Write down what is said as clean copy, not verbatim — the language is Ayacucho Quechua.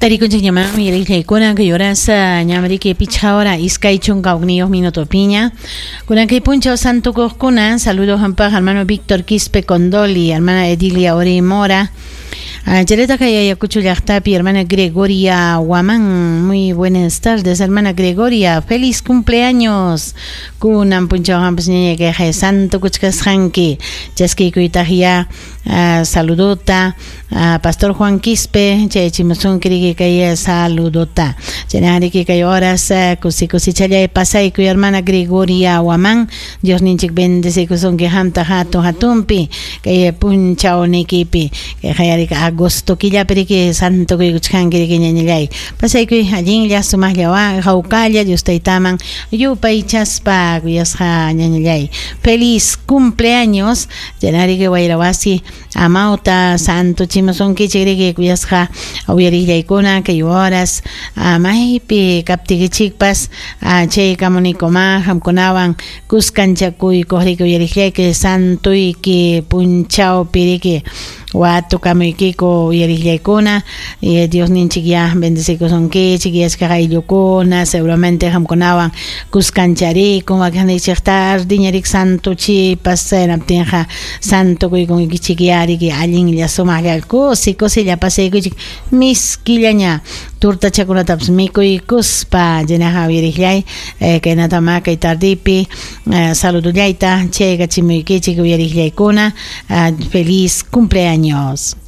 Tarikunchikñamanmi uyariqllaykuna kay horas ñam riki pichqa hora 21 minutopiña. Kunan kay punchaw santukuqkuna saludo hampaq hermano Víctor Quispe Condoli, hermana Edilia Ori Mora. Chayrata kay Ayacucho llaqtapi hermana Gregoria Guamán. Muy buenas tardes, hermana Gregoria. Feliz cumpleaños. Kunan punchaw hampas ñaña kay santo kuchkasqanki. Chaskiykuytaq ya saludota Pastor Juan Quispe, chayachimusunki riki kay saludota. Chayna riki kay horas kusi kusichallay pasaykuy hermana Gregoria Guamán. Dios ninchik bendecikusunki hamta hatun hatunpi kay punchawnikipi. Kay hayarika agosto killapi riki santo kuykuchkanki riki ñañallay. Pasaykuy allinlla sumaqlla hawkalla Dios taytaman yupaychaspa kuyasqa ñañallay. Feliz cumpleaños. Chayna riki wayrawasi amawta santo chimusunkichik riki kuyasqa uyariqllaykuna kay horas maypi kaptikichikpas chay kamunikuma hamkunawan kuskanchakuykuq riki uyariqllayki santuyki punchawpi riki watukamuykiku uyariqllaykuna Dios ninchik ya bendecikusunkichik yachkaq ayllukuna seguramente hamkunawan kuskancharikun wakinnichik tardiña riki santuchipas hinaptinqa santo kuykunkichik ya riki allinlla sumaqlla kusi kusilla pasaykuchik miskillaña tortachakunatapas mikuykuspa chaynaqa uyariqllay kaynatama kay tardipi saludullayta chaykachimuykichik uyariqllaykuna feliz cumpleaños.